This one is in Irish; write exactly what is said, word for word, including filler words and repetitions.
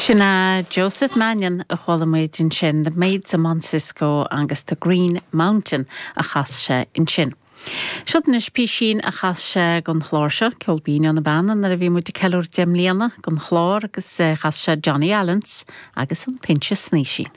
Sin é Joseph Mannion a chuala muid ansin, The Maids of Monsisco agus The Green Mountain a chas sé ansin. Seo anois písín a chas sé don chlár seo Ceol Binn ó na Beanna nuair a bhí muid ag ceiliúradh deich mbliana don chlár agus eh, chas sé Johnny Allens agus an Pinse Snaoisín.